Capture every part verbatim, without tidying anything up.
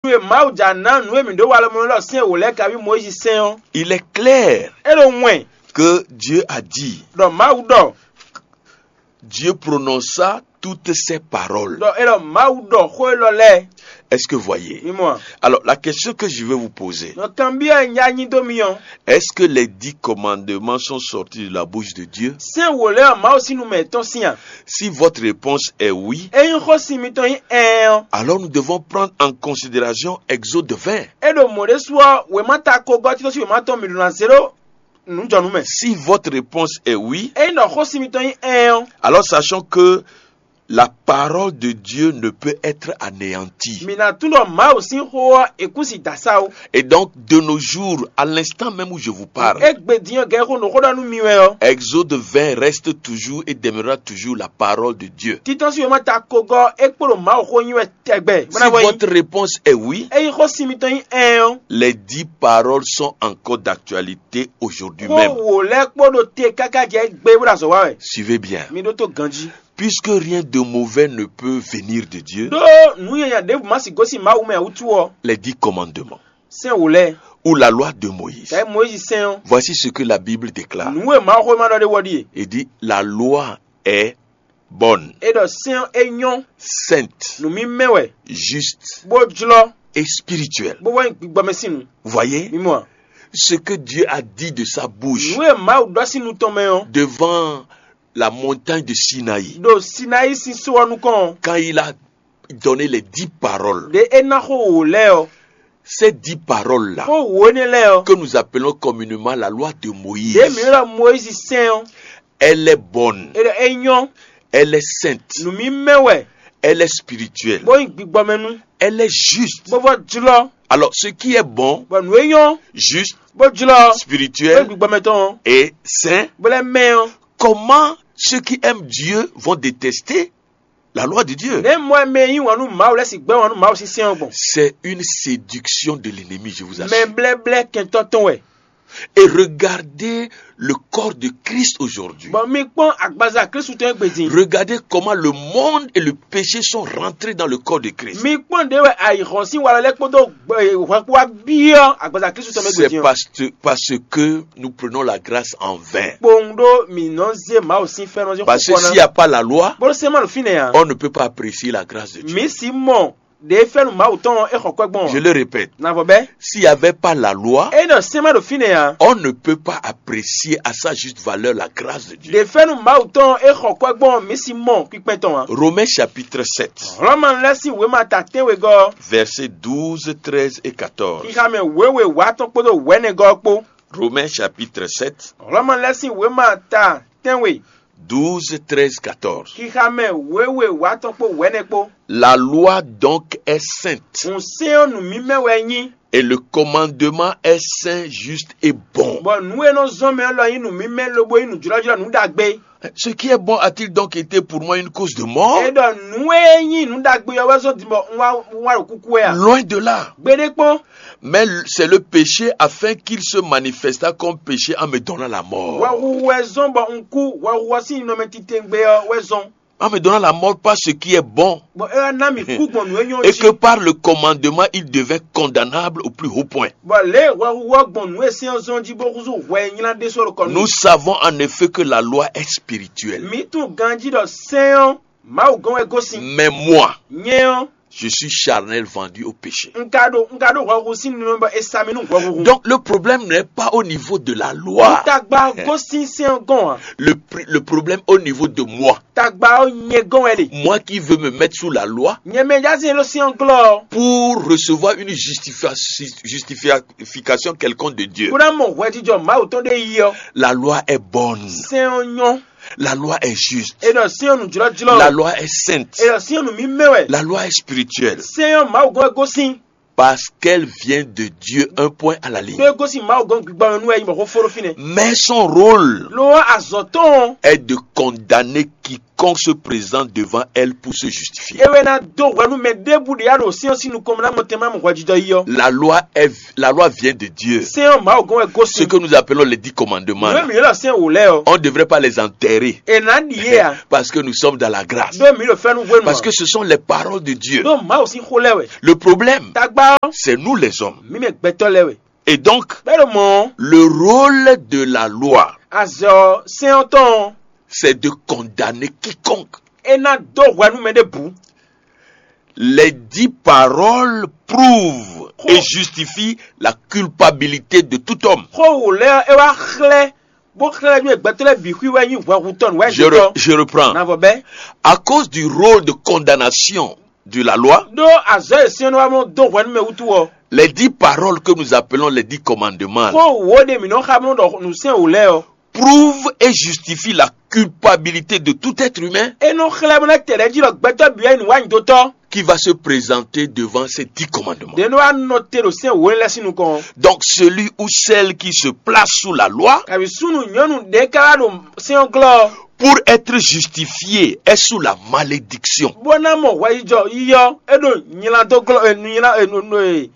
E Mawu jǎ ná nǔ e mǐ ɖó walɔmɔnɔ lɔ sín e wǒ lɛ́ɛ kaví Mɔyízi sɛn ɔ́, Il est clair é ɖo wɛn que Dieu a dit, ɖɔ Mawu ɖɔ Dieu prononça toutes ces paroles. Ɖɔ é ɖɔ Mawu ɖɔ xó élɔ́ lɛ́ɛ. Est-ce que vous voyez? Mi mɔ a? Alors, la question que je vais vous poser, Nɔ kanbyɔ́ e un já nyi dó mi ɔ́, est-ce que les dix commandements sont sortis de la bouche de Dieu? Sɛ́n wǒ lɛ́ ɔ́ Mawu sín nu mɛ yětɔn sín a? Si votre réponse est oui, Ényí xósin mitɔn nyí ɛɛn ɔ́, alors nous devons prendre en considération Exode vingt. É ɖo mɔ̌ ɖésú ɔ́, wěma ta kogɔ́ títɔ́ sín wěma tɔn mǐ ɖo ná zé ɖó nǔjɔnǔ mɛ. Si votre réponse est oui, Ényí ɖɔ xósin mitɔn nyí ɛɛn ɔ́, alors sachons que la parole de Dieu ne peut être anéantie. Mǐ ná tunwun ɖɔ Mawu sín xó ɔ́ è kú si dǎ sá ó. Et donc, de nos jours, à l'instant même où je vous parle, Égbé din ɔ́ gɛ́ xó nǔ xó ɖɔ nú mi wɛ ɔ́, Exode vingt reste toujours et demeurera toujours la parole de Dieu. Títɔ́ sín wěma ta kogɔ́ é kpo ɖo Mawu xó nyi wɛ tɛgbɛ. Si Bó ná vɔ nyí. Votre réponse est oui, Ényí xósin mitɔn nyí ɛɛn ɔ́, les dix paroles sont encore d'actualité aujourd'hui xó même. Wǒ lɛ́ɛ kpó ɖo te káká jɛ égbé bó ɖo azɔ̌ wa wɛ. Suivez bien. Mi ɖótó ganjí. Puisque rien de mauvais ne peut venir de Dieu, Ɖó nǔ nyanya ɖěbǔ ma sixú gosín Mawu mɛ ǎ wútu ɔ́, les dix commandements sɛ́n wǒ lɛ́ɛ, ou la loi de Moïse, kɛ̌ Mɔyízi sɛ́n ɔ́, voici ce que la Bible déclare. Nǔ e Mawuxówéma ɖɔ ɖé wɔ ɖíe. Il dit, la loi est bonne, É ɖɔ sɛ́n ɔ́ é nyɔ́, sainte, nǔmímɛ́ wɛ, juste bó jlɔ́, et spirituelle. Bó wɛ nyí gbigbɔmɛ sín nǔ. Vous voyez? Mi mɔ a? Ce que Dieu a dit de sa bouche. Nǔ e Mawu ɖɔ sín nu tɔn mɛ ɔ́. Devant la montagne de Sinaï. Ɖo Sinayi sín só ɔ́ nukɔn ɔ́. Quand il a donné les dix paroles. Ɖě é ná xó wǒ lɛ́ɛ ɔ́. Ces dix paroles là. Xó wǒ énɛ́ lɛ́ɛ ɔ́. Que nous appelons communément la loi de Moïse. Ɖě mǐ ylɔ́ Mɔyízi sɛ́n ɔ́. Elle est bonne. É ɖɔ é nyɔ́. Elle est sainte. Nǔmímɛ́ wɛ. Elle est spirituelle. Bó nyí gbigbɔmɛnú. Elle est juste. Bó vɔ jlɔ́. Alors, ce qui est bon, Bɔ nǔ e nyɔ́. Juste, bó jlɔ́. Bó Spirituel, nyí gbigbɔmɛ tɔn ɔ́. Et saint, bó lɛ́ mɛ ɔ́. Comment ceux qui aiment Dieu vont détester la loi de Dieu? Nɛ̌ mɔ e mɛ e yí wǎn nú Mawu lɛ́ɛ sixú gbɛ́ wǎn nú Mawu sín sɛ́n ɔ́ gbɔn? C'est une séduction de l'ennemi, je vous assure. Mɛ blɛ́blɛ́ kɛntɔ́ tɔn wɛ. Et regardez le corps de Christ aujourd'hui. Bɔ mi kpɔ́n agbaza Kristu tɔn e gbe din. Regardez comment le monde et le péché sont rentrés dans le corps de Christ. Mi kpɔ́n ɖě wɛ ayǐhɔ́n sín walɔ lɛ́ɛ kpódó hwɛkpó wá byɔ́ agbaza Kristu tɔn mɛ gbe C'est din ɔ́. Parce, parce que nous prenons la grâce en vain. Kpowun ɖó mǐ nɔ zé Mawu sín fɛ́nú ɔ́ sín Parce que xixɔ s'il n'y ná. A pas la loi, Bó sɛ́n ma ɖo fínɛ́ ǎ. On ne peut pas apprécier la grâce de Dieu. Mǐ sixú mɔ ɖě fɛ́nú Mawu tɔn ɔ́ é xɔ kwɛ́ gbɔn ɔ́. Je le répète. Navɔ bɛ́. S'il n'y avait pas la loi, Ényí ɖɔ sɛ́n ma ɖo fínɛ́ ǎ, On ne peut pas apprécier à sa juste valeur la grâce de Dieu. Ɖě fɛ́nú Mawu tɔn ɔ́ é xɔ kwɛ́ gbɔn ɔ́, mǐ sixú mɔ kpíkpɛ́n tɔn ǎ. Romains chapitre sept, Hlɔ̌nmanu lɛ́ɛ sín wěma ta tɛ́nwe gɔ́ ɔ́, verset douze, treize et quatorze. Xixa mɛ wěwe wǎ tɔn kpódó wɛ̌nɛgɔ́ ɔ́ kpó. Romains chapitre sept, Hlɔ̌manu lɛ́ɛ sín wěma ta tɛ́nwe, douze, treize, quatorze. Xixa mɛ wěwe wǎ tɔn kpó wɛ̌nɛ kpó. La loi donc est sainte. Hǔn sɛ́n ɔ́ nǔmímɛ́ wɛ é nyí. Et le commandement est saint, juste et bon. Bɔ nǔ e nɔ zɔ́n mɛ ɔ́ lɔ nyí nǔmímɛ́ lobo nyí nǔjlɔ́jlɔ́ nǔ ɖagbe. Ce qui est bon a-t-il donc été pour moi une cause de mort? É ɖɔ nǔ e nyí nǔ ɖagbe ɔ́ wɛ zɔ́n din bɔ un wá un wá ɖo kúkú wɛ a? Loin de là. Gbeɖé kpɔ́n. Mais c'est le péché afin qu'il se manifestât comme péché en me donnant la mort. Hwɛhuhu wɛ zɔ́n bɔ un kú, hwɛhuhu ɔ́ sín ninɔmɛ titewungbe ɔ́ wɛ zɔ́n. En me donnant la mort par ce qui est bon. Bɔ é wá ná mì kú gbɔn nǔ e nyɔ́ ɔ́ jí. Et que par le commandement, il devint condamnable au plus haut point. Bɔ lě e hwɛhuhu ɔ́ gbɔn nǔ e sɛ́n ɔ́ zɔ́n jí bó húzú hwɛ e nylá ɖésú ɔ́ ɖo kɔ nú mì. Nous savons en effet que la loi est spirituelle. Mǐ tunwun ganjí ɖɔ sɛ́n ɔ́, Mawu gɔ́n wɛ gosín. Mais moi, Nyɛ ɔ́, je suis charnel, vendu au péché. Un ka ɖo un ka ɖo hwɛhuhu sín ninɔmɛ bɔ è sa mì nú hwɛhuhu. Donc le problème n'est pas au niveau de la loi. Tagba ɔ́ gosín sɛ́n ɔ́ gɔ́n ǎ. Le, pri- le problème au niveau de moi. Tagba ɔ́ nyɛ gɔ́n wɛ ɖe. Moi qui veux me mettre sous la loi Nyɛ mɛ jazɛn ɖo sɛ́n ɔ́ glɔ́ ɔ́. Pour recevoir une justification, justification quelconque de Dieu. Bó ná mɔ hwɛjijɔ Mawu tɔn ɖé yi ɔ́. La loi est bonne. Sɛ́n ɔ́ nyɔ́. La loi est juste. È ɖɔ sɛ́n ɔ́ nǔjlɔ́jlɔ́. La loi est sainte. È ɖɔ sɛ́n ɔ́ nǔmímɛ́ wɛ. La loi est spirituelle. Sɛ́n ɔ́ Mawu gɔ́n wɛ gosín. Parce qu'elle vient de Dieu, un point à la ligne. Ɖó é gosín Mawu gɔ́n gbigbɔmɛ nú wɛ é nyí bɔ xó fó ɖó fínɛ́. Mais son rôle Lo ɔ́ azɔ̌ tɔn ɔ́, est de condamner quiconque se présente devant elle pour se justifier. É wɛ ná dó hwɛ nú mɛ ɖěbǔ ɖě ya ɖo sɛ́n ɔ́ sín nukɔn mɛ ná mɔ tɛn má mɔ hwɛjijɔ yi ɔ́. La loi est, la loi vient de Dieu. Sɛ́n ɔ́ Mawu gɔ́n wɛ Ce gosín. Que nous appelons les dix commandements Nǔ là, e mǐ ylɔ́ sɛ́n wǒ lɛ́ɛ ɔ́, on ne devrait pas les enterrer. È nǎ ɖi yé ǎ. Parce que nous sommes dans la grâce. Ɖó mǐ ɖo fɛ́nú hwenu Parce que ce sont les paroles de Dieu. Ɖó Mawu sín xó lɛ́ɛ wɛ. Le problème, Tagba ɔ́, c'est nous les hommes. Mǐ mɛ gbɛtɔ́ lɛ́ɛ wɛ. Et donc, Bɛ́ ɖo mɔ̌ ɔ́, le rôle de la loi, azɔ sɛ́n ɔ́ tɔn ɔ́, c'est de condamner quiconque. É ná dó hwɛ nú mɛ ɖěbǔ. Les dix paroles prouvent et justifient la culpabilité de tout homme. Xó wǒ lɛ́ɛ ɔ́, é wá xlɛ́, bó xlɛ́ nú gbɛtɔ́ lɛ́ɛ bǐ xwí wɛ nyí hwɛhutɔ́ nǔ wá Je, re- je reprends. Navɔ bɛ́. À cause du rôle de condamnation de la loi, Ɖó azɔ̌ e sɛ́n ɔ́ wá mɔ dó hwɛ nú mɛ wútu ɔ́, les dix paroles que nous appelons les dix commandements, xó wǒ ɖé mǐ nɔ xa bló ɖɔ nǔ sɛ́n wǒ lɛ́ɛ ɔ́, prouve et justifie la culpabilité de tout être humain é nɔ xlɛ́ bó ná tɛ ɖɛ̌ jí ɖɔ gbɛtɔ́ bǐ wɛ nyí nǔwanyiɖótɔ́. Qui va se présenter devant ces dix commandements. Ɖě nɔ wá nɔ te ɖo sɛ́n wǒ lɛ́ɛ sín nukɔn. Donc celui ou celle qui se place sous la loi Kabi súnnu nyɔ̌nu ɖě ká wá ɖo sɛ́n ɔ́ glɔ́ ɔ́, pour être justifié est sous la malédiction. Bó ná mɔ hwɛyijɔ yíyɔ é ɖo nylá dó glɔ́ e nylá e nɔ e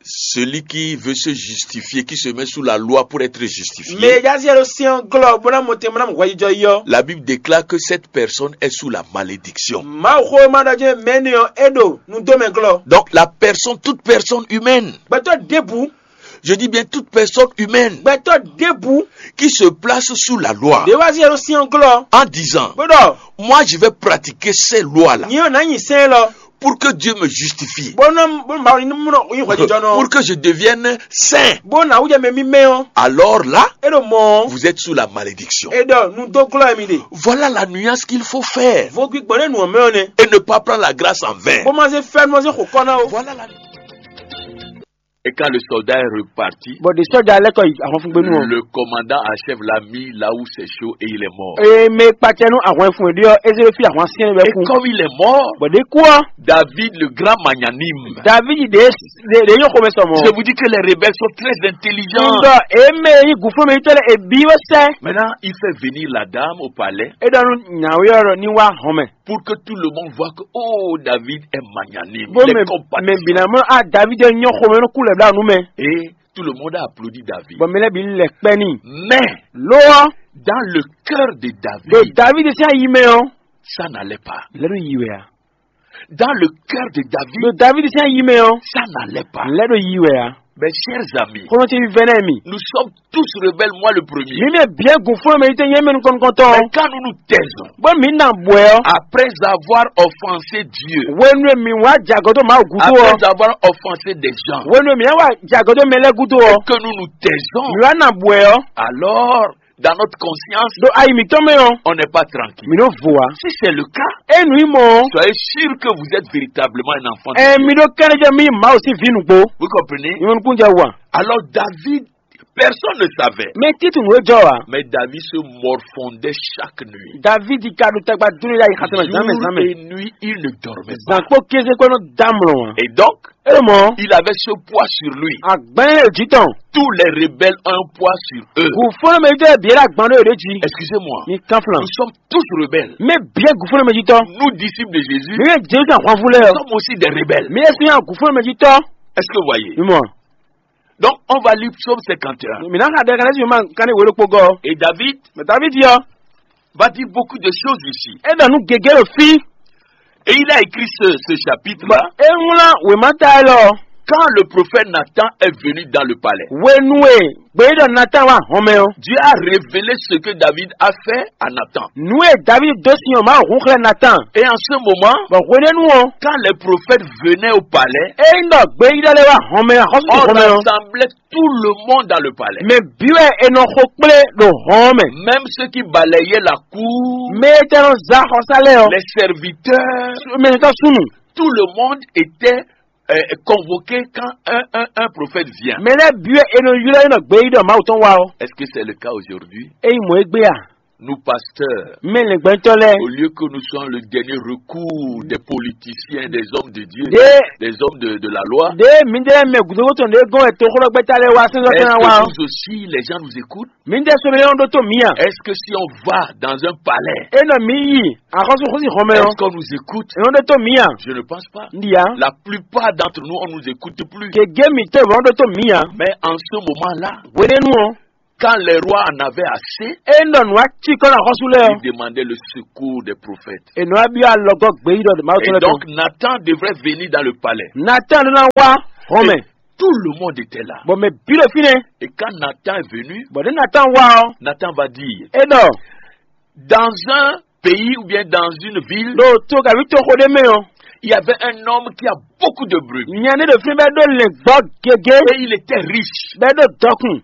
Celui qui veut se justifier, qui se met sous la loi pour être justifié. Mɛ e jásí ɖo sɛ́n ɔ́ glɔ́ bó ná mɔ tɛn bó ná mɔ hwɛjijɔ yi ɔ́. La Bible déclare que cette personne est sous la malédiction. Mawu xó e ma ɖɔ jɛ́n mɛ énɛ́ ɔ́ é ɖo nudómɛ glɔ́. Donc la personne, toute personne humaine, Gbɛtɔ́ ɖěbǔ, je dis bien toute personne humaine, gbɛtɔ́ ɖěbǔ qui se place sous la loi, ɖě wá sí ɖo sɛ́n ɔ́ glɔ́ en disant, bó ɖɔ, moi je vais pratiquer ces lois-là, nyɛ ɔ́ nǎ nyi sɛ́n élɔ́. Pour que Dieu me justifie, Bó ná bó ná Mawu ní mú nɔ nyí hwɛjijɔnɔ. Pour que je devienne saint, Bó ná wújɛ mɛ mímɛ́ ɔ́. Alors là, É ɖo mɔ̌ ɔ́, vous êtes sous la malédiction. É ɖɔ nu dó glɔ́ mi ɖe. Voilà la nuance qu'il faut faire. Vo gbígbɔn ɖé nu ɔ́ mɛ ɔ́ nɛ. Et ne pas prendre la grâce en vain. Bó má zé fɛ́nú ɔ́ zé xo kɔ́ ná ó. Voilà la Et quand le soldat est reparti, Bɔ ɖe sɔ́ja lɛ́ kɔ yi ahɔnfúngbénu ɔ́. Le commandant en chef l'a mis là où c'est chaud et il est mort. Eye mɛ kpacɛ nú ahwan fún ɖé ɔ́, é zé ɖó fí ahwan syɛ́n wɛ Et kú. Comme il est mort, Bɔ ɖě kú ɔ́, David, le grand magnanime, David ɖě ɖě ɖě nyɔ́ xomɛ sɔ mɔ̌. Je vous dis que les rebelles sont très intelligents. Ŋdɔ eme yi gǔflɔ́mɛ yitɔ́ lɛ ebi wɛ sɛ. Maintenant, il fait venir la dame au palais. E ɖɔ nú nyawé ɔ́ ɖɔ ní wá hɔn mɛ. Pour que tout le monde voit que, oh, David est magnanime, Bó il mɛ est compatissant. Mɛ bǐ ná mɔ a David ɔ́ nyɔ́ xomɛ nú kú lɛ bla nú mɛ. Et tout le monde a applaudi David. Bɔ mɛ lɛ́ɛ bǐ lɛ kpɛ́ n'i. Mais Lo ɔ́, dans le cœur de David, ɖo David sín ayi mɛ ɔ́, ça n'allait pas. Lɛ ɖo yi wɛ a. Dans le cœur de David, Ɖo David sín ayi mɛ ɔ́, ça n'allait pas. Lɛ ɖo yi wɛ a. Mes chers amis, Xɔmɔ ce vívɛ́ nɛ́ mi. Nous sommes tous rebelles, moi le premier. Mi mɛ bǐ gǔflɔ́mɛ yi tɛ nyɛ mɛ nukɔn nukɔntɔn. Mais quand nous nous taisons, Bó mi na bwɛ ɔ́. Après avoir offensé Dieu, Wenu mi wá jagɔdó Mawu gúdo ɔ́. Après avoir offensé des gens, Wenu mi wá jagɔdó mɛ lɛ́ɛ gúdo ɔ́. Que nous nous taisons, Mi wá na bwɛ ɔ́. Alors, dans notre conscience, Ɖo ayi mǐtɔn mɛ ɔ́. On n'est pas tranquille. Mi nɔ vo a. Si c'est le cas, E nǔ nyí mɔ ɔ́. Soyez sûr que vous êtes véritablement un enfant de Ɛ Dieu. Mi ɖó kɛnɛjɛ mi Mawu sín vǐ nǔgbó. Vous comprenez? Mi mɔ nukúnjɛ wa. Alors David, personne ne savait. Mɛ títù nǔ e jɔ wa. Mais David se morfondait chaque nuit. David ka ɖo tagba dúró ya yi xatɔ́ mɛ zǎnmɛ Jour zǎnmɛ. Et nuit, il ne dormait pas. Zǎn kpó kéze kpó nɔ dá mlɔ wa. Et donc, E mɔ. Il avait ce poids sur lui. Agbɛn e jí tɔn. Tous les rebelles ont un poids sur eux. Gǔfɔ́nmɛ yi tɛ bǐ la gbɔn ɖo yě jí. Excusez-moi. Mi kan flan. Nous sommes tous rebelles. Mɛ bǐ gǔfɔ́nmɛ jí tɔn. Nous, disciples de Jésus, Mi yɛ Jezu ahwanvú lɛ. Nous sommes aussi des rebelles. Mi yɛ sɔn gǔfɔ́nmɛ jí tɔn. Est-ce que vous voyez? Mi mɔ. Donc, on va lire Psaume cinquante et un. Mi na xa ɖe kan si ma kan ne wele kpogɔ. Et David, Mais David yɔ. Va dire beaucoup de choses ici. E ɖɔ nu gege ɖo fi. Et il a écrit ce, ce chapitre-là. E ŋlɔ wema ta lɔ. Quand le prophète Nathan est venu dans le palais, Wenu e gbeyíɖɔ Nathan wá hɔn mɛ ɔ́. Dieu a révélé ce que David a fait à Nathan. Nu e David dó sin ɔ́, Mawu hun xlɛ́ Nathan. Et en ce moment, Bɔ hwenɛ́nu ɔ́, quand les prophètes venaient au palais, E ŋdɔ gbeyíɖɔ lɛ wá hɔn mɛ axɔ́sú on hɔn mɛ ɔ́. Rassemblait tout le monde dans le palais. Mɛ bǐ wɛ è nɔ xo kplé ɖo hɔn ɔ́ mɛ. Même ceux qui balayaient la cour, Mɛ e tɛ nɔ za xɔsá lɛ ɔ́. Les serviteurs, Mɛ tɔ súnnu. Tout le monde était euh, convoqué quand un, un, un prophète vient. Mɛ lɛ́ɛ bǐ wɛ è nɔ ylɔ́ é nɔ gbeyíɖɔ Mawu tɔn wá ɔ́. Est-ce que c'est le cas aujourd'hui? Ényí mɔ̌ é gbé a? Nous pasteurs, mɛ lɛngbɛntɔ lɛ. Au lieu que nous soyons le dernier recours des politiciens, des hommes de Dieu, des hommes de, de la loi, de mi de mɛ gudogoto de gɔn eto xlɔ gbɛta lɛ wa sɛnsɛn tɛn wa. Est-ce que nous aussi, les gens nous écoutent? Mi de sɔmɛ yɔn ɖo to mi a? Est-ce que si on va dans un palais, e nɔ mi yi axɔsu xɔsi xɔmɛ yɔ, est-ce qu'on nous écoute? Yɔn ɖo to mi a? Je ne pense pas. Ndi ya. La plupart d'entre nous, on nous écoute plus. Gege mi to yɔn ɖo to mi a? Mais en ce moment-là, wele nu ɔ. Quand les rois en avaient assez, e nɔ nua ci kɔ na xɔsu lɛ ɔ, ils demandaient le secours des prophètes. E nɔ abi alɔgɔ gbe yi dɔ de ma. Et donc, Nathan devrait venir dans le palais. Nathan ɖo na wa xɔmɛ. Et tout le monde était là. Bɔn mɛ bi ɖo fi nɛ. Et quand Nathan est venu, bɔn de Nathan wa ɔ, Nathan va dire, e nɔ dans un pays ou bien dans une ville, ɖo to gavi to xo ɖe mɛ ɔ, il y avait un homme qui a beaucoup de brebis. Nya ne ɖo fi bɛ ɖo lɛngbɔ gege. Et il était riche. Bɛ ɖo dɔkun.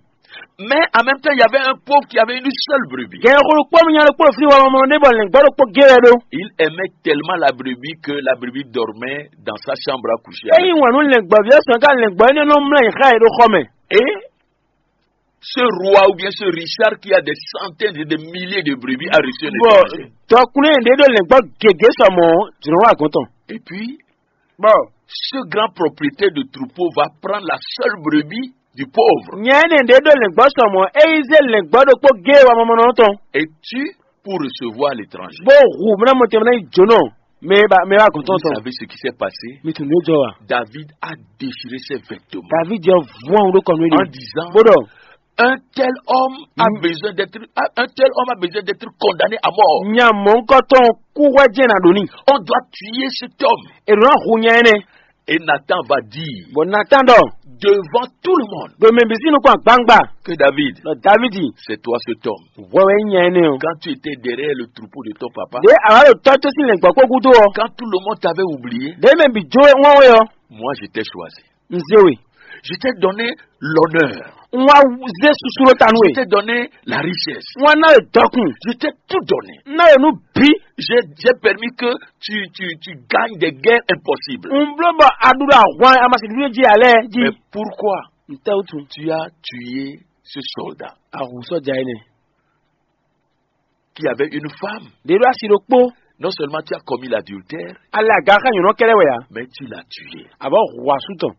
Mais en même temps, il y avait un pauvre qui avait une seule brebis. Gɛn xo kpɔ mi nya ɖo kpɔ fi wa mɔ ne bɔ lɛngbɔ ɖo kpɔ ge wɛ ɖo. Il aimait tellement la brebis que la brebis dormait dans sa chambre à coucher. Eyi ŋun nu lɛngbɔ vi sɔn ka lɛngbɔ ne nɔ mlɛ yi xa yi ɖo xɔ mɛ. Et ce roi ou bien ce Richard qui a des centaines et des milliers de brebis a reçu un étranger. Dɔkunlé ɖe ɖo lɛngbɔ gege sɔmɔ dzro wa gɔntɔn. Et puis, bon, ce grand propriétaire de troupeau va prendre la seule brebis du pauvre. Nyɛ ne ɖe ɖo lɛngbɔ sɔmɔ eyi ze lɛngbɔ ɖokpɔ ge wa mɔmɔnɔ tɔn. Et tu pour recevoir l'étranger. Bó hu mìíràn mɔ tɛmɛ yi jónɔ mɛ ba mɛ ba gɔntɔn tɔn. Vous savez ce qui s'est passé? Mi tun ní jɔ wa. David a déchiré ses vêtements. David jẹ vɔn ɖo kɔnu. En disant, bó dɔ, un tel homme a besoin d'être, un tel homme a besoin d'être condamné à mort. Nya mɔnkɔtɔn kú hwɛ jẹ na ɖo ni. On doit tuer cet homme. Èrò náà hu nya ɛnɛ. Et Nathan va dire, bon, Nathan dɔ, devant tout le monde, do mɛ bisi nukun agbangba, que David, dɔ Davidi, c'est toi cet homme. Wɛwɛ nya ɛnɛ o. Quand tu étais derrière le troupeau de ton papa, de awa ɖo tɔ to si lɛngbɔ kpó gúdo ɔ, quand tout le monde t'avait oublié, de mɛ bi jo wọn wɛ ɔ, moi je t'ai choisi. N ze we. Je t'ai donné l'honneur. N wa ze susu ɖo ta nú we. Je t'ai donné la richesse. N wa na we dɔkun. Je t'ai tout donné. N na we nu bi. J'ai, j'ai permis que tu, tu, tu gagnes des guerres impossibles. N blo bɔ a ɖu ɖo ahwan amasi ɖuɖu ji alɛ ji. Mais pourquoi, n tɛ wutu, tu as tué ce soldat? Ahu sɔja yi nɛ. Qui avait une femme. De ɖo asi ɖokpo. Non seulement tu as commis l'adultère, ale aga xa nyɔnɔ kɛlɛ wɛ ya, mais tu l'as tué. Abɔ hu asu tɔn.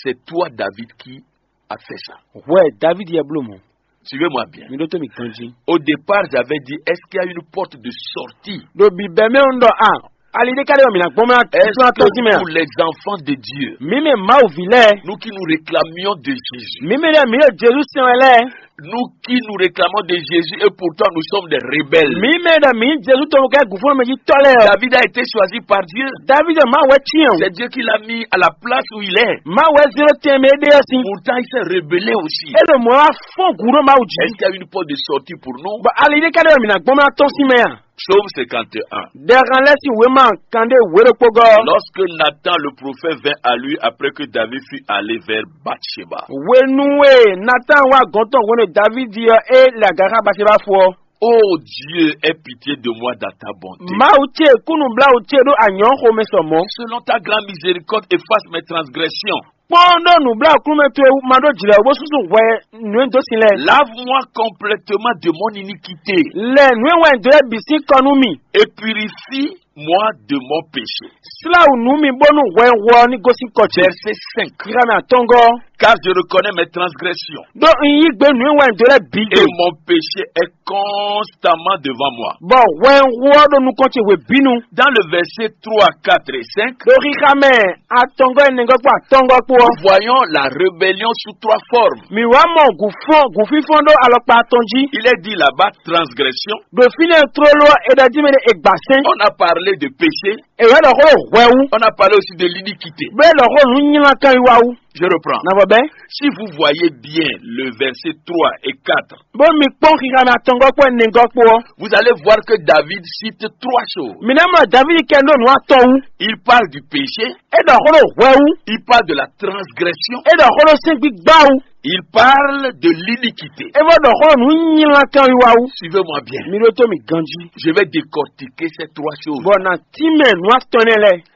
C'est toi, David, qui a fait ça. Hwɛ David yɛ blo mɔ. Suivez-moi bien. Mi ɖo to mi ganji. Au départ, j'avais dit, est-ce qu'il y a une porte de sortie? Do bi bɛ mɛ ŋdɔ a, ali de ka de mi na gbɔn mɛ a. Est-ce que tɔn si mɛ a, pour les enfants de Dieu, mi mɛ Mawu vi lɛ, nous qui nous réclamions de Jésus, mi mɛ lɛ mi yɔ Jesu sɛn wɛ lɛ. Nous qui nous réclamons de Jésus et pourtant nous sommes des rebelles. Mi mɛ da mi Jesu to kɛ gufo mɛ ji tɔ lɛ. David a été choisi par Dieu. David ma wɛ tiɲɛ. C'est Dieu qui l'a mis à la place où il est. Ma wɛ zero tɛn mɛ de si. Pourtant il s'est rebellé aussi. E lo mɔ wa fɔn gu ɖo Mawu ji. Est-ce qu'il y a une porte de sortie pour nous? Ba ali de ka de mi na gbɔn ma tɔn si mɛ a. Psaume cinquante et un. Dɛxan lɛ si wema kan de wero kpogɔ. Lorsque Nathan le prophète vint à lui après que David fut allé vers Bathsheba. Wenu e Nathan wa gɔntɔn wenu David yɔ e le agaxa Bathsheba fɔ. Oh Dieu, aie pitié de moi dans ta bonté. Mawu ce kunu blawu ce ɖo anyɔ xomɛ sɔmɔ. Selon ta grande miséricorde, efface mes transgressions. Kpɔn ɖo nubla kunu mɛ towe ma ɖo jlɛ wo bó susu hwɛ nǔ e dó sin lɛ. Lave-moi complètement de mon iniquité. Lɛ nǔ e wɛn dó lɛ bǐ sín kɔ nú mì. Et purifie-moi de mon péché. Sláwǔ nú mi bónú hwɛ hu ɔ́ ní gosín kɔ ce. Verset cinq. Kíká mɛ atɔ́ngɔ́. Car je reconnais mes transgressions. Ɖó un yí gbe nǔ e wɛn dó lɛ́ɛ bǐ. Et mon péché est constamment devant moi. Bɔ hwɛ hu ɔ́ ɖo nukɔn ce hwebǐnu. Dans le verset trois, quatre et cinq, ɖo xixa mɛ atɔ́ngɔ́ ɛnɛgɔ́ kpó atɔ́ngɔ́ kpó ɔ́. Nous voyons la rébellion sous trois formes. Mǐ wá mɔ gǔfɔ́n gǔfínfɔ́n ɖó alɔkpa atɔn jí. Il est dit là-bas transgression. Ɖo fínɛ́ tlóló ɔ́, è ɖɔ jí mɛ ɖé è gbǎ sɛ́n. On a parlé de péché. È wǎ ɖɔ xó ɖo hwɛ wú. On a parlé aussi de l'iniquité. Bó è ɖɔ xó nǔ nylá kan yi wá wú. Je reprends. Navɔ bɛ́. Si vous voyez bien le verset trois et quatre, bó mi kpɔ́n xixa mɛ atɔngɔ́ kpó ɛnɛgɔ́ kpó ɔ́. Vous allez voir que David cite trois choses. Mǐ ná mɔ Davídi kɛ ɖó nǔ atɔn wú. Il parle du péché. É ɖɔ xó ɖo hwɛ wú. Il parle de la transgression. É ɖɔ xó ɖo sɛ́n gbígbá wú. Il parle de l'iniquité. É vɔ ɖɔ xó ɖo nǔ nylá kan wiwa wú. Suivez-moi bien. Mi ɖótó mi ganjí. Je vais décortiquer ces trois choses. Bɔ na tínmɛ nǔ atɔn énɛ́ lɛ́ɛ.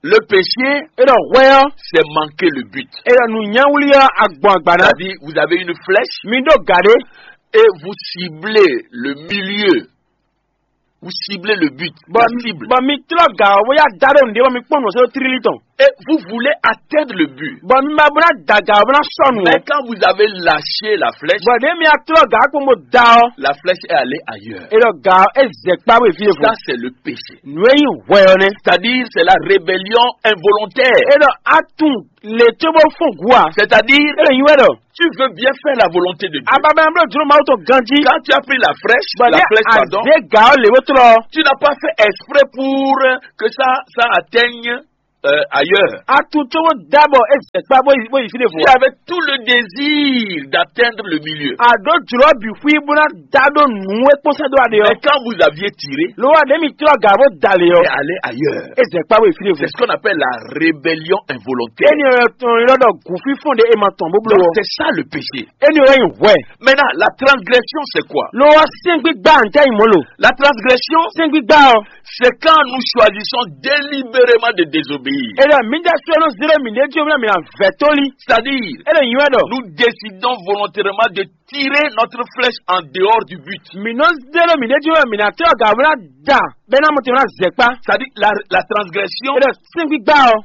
Le péché, é ɖɔ hwɛ ɔ́, c'est manquer le but. É ɖɔ nǔnyáwlí ɔ́ agbɔn agba ná. C'est-à-dire, vous avez une flèche. Mi ɖó gǎ ɖé. Et vous ciblez le milieu. Vous ciblez le but. Bɔ La cible. Bɔ mi tlɔ ga ɔ bóyá da ɖo nǔɖé bɔ mi kpɔn nǔ ɔ́ sɛ́ ɖó trílí tɔn. Et vous voulez atteindre le but. Bɔ mi ma bó ná da ga ɔ bó ná sɔ nǔ ɔ́. Mais quand vous avez lâché la flèche, Bɔ ɖě mi tlɔ ga ɔ kpɔn bó da ɔ. La flèche est allée ailleurs. E ɖɔ ga ɔ é zɛ kpá bó yi fí e fo. Ça, c'est le péché. Nǔ e nyí hwɛ ɔ́ nɛ́. C'est-à-dire, c'est la rébellion involontaire. E ɖɔ a tunwun lě cóbó fɔ́n gǔ ǎ. C'est-à-dire, É lě nyí wɛ ɖɔ tu veux bien faire la volonté de Dieu. Ababa bló jló Mawu tɔn ganjí. Quand tu as pris la flèche, Bɔ la lě flèche, pardon, azě gǎ ɔ́ lě bó tlɔ. Tu n'as pas fait exprès pour que ça, ça atteigne euh, ailleurs. A tu cóbó dábɔ é zɛ kpá bó yi bó yi fí ɖé fo. Tu avais tout le désir d'atteindre le milieu. A ɖǒ jlǒ bǐ xwí bó ná dá ɖó nǔ e kpɔ́n sɛ́ dó aɖe ɔ́. Mais quand vous aviez tiré, Ló wá ɖě mi tlɔ gǎ bó da lě ɔ́. Et aller ailleurs. É zɛ kpá bó yi fí ɖé fo. C'est ce qu'on appelle la rébellion involontaire. Éni ɔ́ tɔn ylɔ́ ɖɔ gǔfífɔ́n ɖé e ma tɔn bó bló Donc ɔ́. C'est ça le péché. Éni ɔ́ wɛ nyí hwɛ. Maintenant, la transgression, c'est quoi? Ló wá sɛ́ngbígbá ntɛ́ nyí mɔ̌ lo. La transgression, Sɛ́ngbígbá ɔ́. C'est quand nous choisissons délibérément de désobéir. E ɖɔ mi ɖe sɔ́ nɔ zé ɖo mi ɖe jí mi na vɛ tóli. C'est-à-dire, E ɖo nyi wɛ ɖɔ. Nous décidons volontairement de tirer notre flèche en dehors du but. Mi nɔ zé ɖo mi ɖe jí mi na tɛ ɔga wla da bɛ na mɔtɛ wla zɛ kpa. C'est-à-dire, la, la transgression E ɖɔ sɛngbigba ɔ.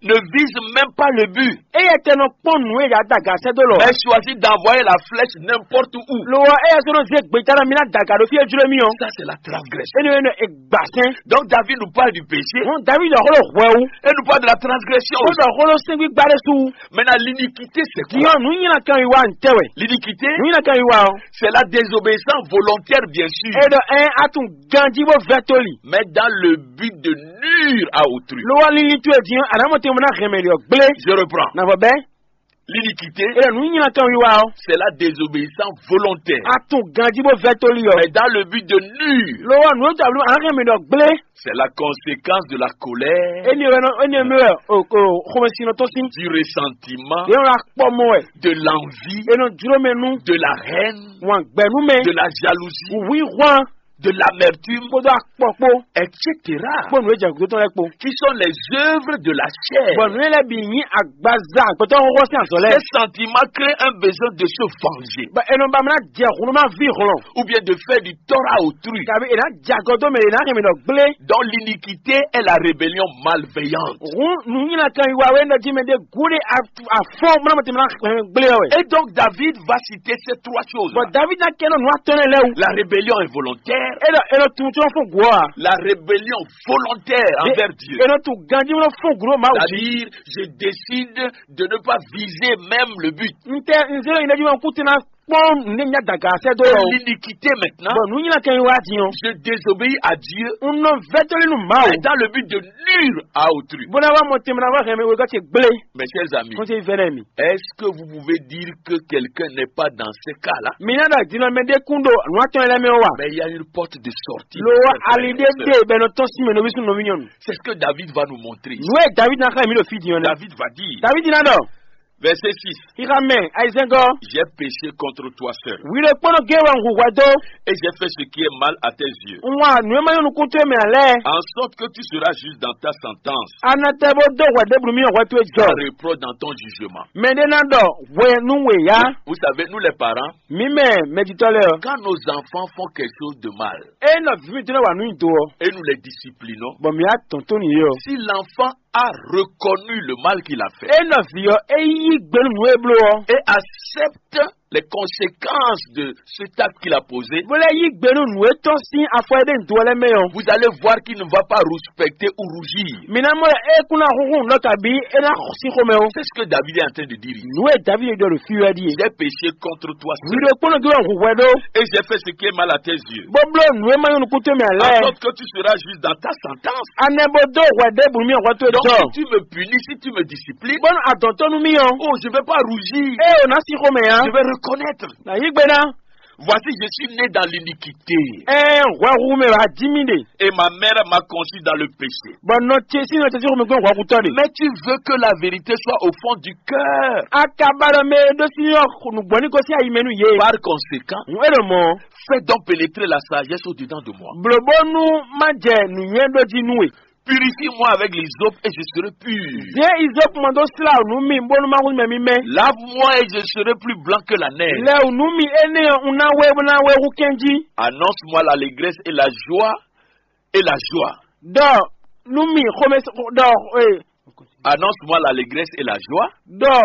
Ne vise même pas le but. Eye tɛ nɔ kpɔn nǔ e ya da ga sɛ do lɔ. Mais choisit d'envoyer la flèche n'importe où. Lo ɔ eye sɔ nɔ zé gbeta na mi na da ga ɖo fi e jlo mi ɔ. Ça, c'est la transgression. E nɔ e nɔ e gba sɛn. Donc David nous parle du péché. Ŋun David ɔxɔ ɖo hwɛ wu. Et nous parle de la transgression Ŋun aussi. Ɔxɔ ɖo sɛngbigba ɖe su. Maintenant, l'iniquité, c'est quoi? Diɔ nu nyina kan yi wa ntɛ wɛ. L'iniquité, Nu nyina kan yi wa ɔ. C'est la désobéissance volontaire, bien sûr. E ɖɔ ɛ atun ganji bó vɛ toli. Mais dans le but de nuire à autrui. Lo wa lili tu e diɔ anamɔ te mo na hɛmɛ ɖiɔ gblé. Je reprends. Na vɔ bɛ. L'iniquité, E ɖɔ nu nyina kan yi wa ɔ. C'est la désobéissance volontaire. Atun ganji bó vɛ toli ɔ. Mais dans le but de nuire, Lo wa nu ta blu anahɛmɛ ɖiɔ gblé. C'est la conséquence de la colère, Eni wɛ nɔ eni mi wɛ o o xɔmɛsinɔ tɔn sin. Du ressentiment, Yɛn wla kpɔ mɔ wɛ. De l'envie, Enɔ jlo mɛ nu. De la haine, Wan gbɛ nu mɛ. De la jalousie, Wíwí hwan. De l'amertume, Kpódó akpɔ kpó. Et cetera. Kpó nǔ e jɛ gǔdo tɔn lɛ kpó. Qui sont les œuvres de la chair. Bɔ nǔ e lɛ bi nyi agbaza gbɛtɔ xɔxɔ sin azɔ lɛ. Ces sentiments créent un besoin de se venger. Bɔ enɔ ba mla jɛ hunu ma vi hlɔn. Ou bien de faire du tort à autrui. Kabi e na jagɔ dó mɛ e na hɛn mi nɔ gblé. Donc l'iniquité est la rébellion malveillante. Hun nu nyina kan yi wa wɛ nɔ ji mɛ de gu de afɔ mla mɛ te mla hɛn gblé wɛ. Et donc David va citer ces trois choses. Bɔ David na kɛ nɔ nu atɔnɛ lɛ wu. La rébellion involontaire. E dɔ e dɔ tun tɔn fún guɔ a. La rébellion volontaire envers Dieu. E dɔ tun ganji mɔ fún guɔ ma wu. C'est-à-dire, je décide de ne pas viser même le but. N tɛ n zero yin dɛ ji ma kú tɛna kpɔn ne nya daga sɛ do. Et l'iniquité maintenant. Bɔn nu nyina kɛ yi wa di yɔn. Je désobéis à Dieu. N nɔ vɛtɔli nu ma o. Dans le but de nuire à autrui. Bɔn na wa mɔ tɛmɛ na wa hɛmɛ wega ce gblé. Mes chers amis, Kɔn se vɛnɛ mi. Est-ce que vous pouvez dire que quelqu'un n'est pas dans ce cas-là? Mi na da dinɔ mɛ de kun do nu atɔn yɛlɛ mɛ wa. Mais il y a une porte de sortie. Lo wa ali de de bɛ nɔ tɔn si mɛ nɔ bi sun nɔ mi nyɔnu. C'est ce que David va nous montrer. Nu e David na xa mi ɖo fi di yɔn. David va dire. David na dɔ. Verset six. Xixa mɛ ayizɛngɔ. J'ai péché contre toi seul. Wi ɖokpónɔ gé wɛ ŋu hwɛ dó. Et j'ai fait ce qui est mal à tes yeux. N wa nǔ e ma nyɔ́ nukún towe mɛ ǎ lɛ́ɛ. En sorte que tu seras juste dans ta sentence. Anatɛ bó dó hwɛ ɖěbǔ mi hwɛ towe jɔ. Sans reproche dans ton jugement. Mɛ ɖé ná ɖɔ hwɛ nú we yá. Vous savez, nous les parents, Mi mɛ mɛjitɔ́ lɛ́ɛ ɔ. Quand nos enfants font quelque chose de mal, E nɔ vi mi tɔn wa nú nyi do ɔ. Et nous les disciplinons, Bɔn mi yá tɔn tó nìyí ɔ. Si l'enfant a reconnu le mal qu'il a fait E nɔ vi ɔ e yí gbe nú nǔ e bló ɔ. Et accepte les conséquences de cet acte qu'il a posé, Bó lɛ yí gbe nú nǔ e tɔn sín afɔ e ɖe nǔ do ɔ lɛ́ɛ mɛ ɔ. Vous allez voir qu'il ne va pas respecter ou rougir. Mi ná mɔ e kún ná xúxú nǔ lɔ kabi e ná xɔ sí xomɛ o. C'est ce que David est en train de dire ici. Nǔ e David ɖɔ ɖo fí wɛ ɖíe. J'ai péché contre toi seul. Ɖo kpɔ́n nɔ dó wɛ hu hwɛ ɖó. Et j'ai fait ce qui est mal à tes yeux. Bó bló nǔ e ma nyɔ́ nukún towe mɛ ǎ lɛ́ɛ. En sorte que tu seras juste dans ta sentence. Anɛ bó dó hwɛ ɖěbǔ mi hwɛ towe Donc, jɔ. Si tu me punis, si tu me disciplines, Bónú adɔn tó nú mì ɔ́. Oh, je vais pas rougir. Ée o ná sí xomɛ ǎ. Je vais reconnaître. Nà yí gbe ná. Voici, je suis né dans l'iniquité. Ɛɛ hwɛhu mɛ wá jí mì ɖe. Et ma mère m'a conçu dans le péché. Bɔ nɔ ce sí nɔ ce sí xomɛ gbɔn hwɛhutɔ ɖe. Mais tu veux que la vérité soit au fond du cœur. Akaba ɖɔ mɛ ɖó sí yɔ nugbɔ ní gosín ayi mɛ nú yě. Par conséquent, Ŋu é ɖo mɔ. Fais donc pénétrer la sagesse au-dedans de moi. Blǒ bónú má jɛ nǔnywɛ́ ɖó jí nú we. Purifie-moi avec l'hysope et je serai pur. Zě izɔ́pumɔ dó slá wǔ nú mì bónú má húzú mɛ mímɛ́. Lave-moi et je serai plus blanc que la neige. Lɛ wǔ nú mì énɛ́ ɔ́, un ná wɛ bó ná wɛ hú kɛ́njí. Annonce-moi l'allégresse et la joie et la joie. Ɖɔ nú mì xomɛ ɖɔ ee. Annonce-moi l'allégresse et la joie. Ɖɔ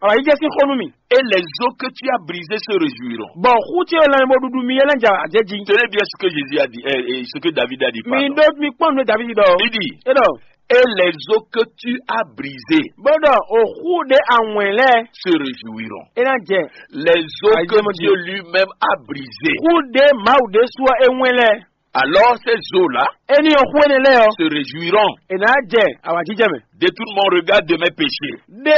awǎyíjɛ sín xó nú mì. Et les os que tu as brisés se réjouiront. Bɔ xú ce lanmɛ bó ɖuɖu mi é lɛ́ jɛ ajɛ jí. Tenez bien ce que Jésus a dit, euh, et ce que David a dit, mi pardon. Ɖó mi kpɔ́n nú Davidi ɖɔ. Il dit, é ɖɔ et les os que tu as brisés bó ɖɔ o xú ɖé awɛn lɛ́ se réjouiront. É ná jɛ. Les os que Dieu lui-même a brisés. Xú ɖé Mawu ɖésú ɔ́ é wɛn lɛ́. Alors ces os-là é ní ɔ́ xú énɛ́ lɛ́ɛ ɔ́ se réjouiront. É ná jɛ awǎjijɛ mɛ. Détourne mon regard de mes péchés. Ɖe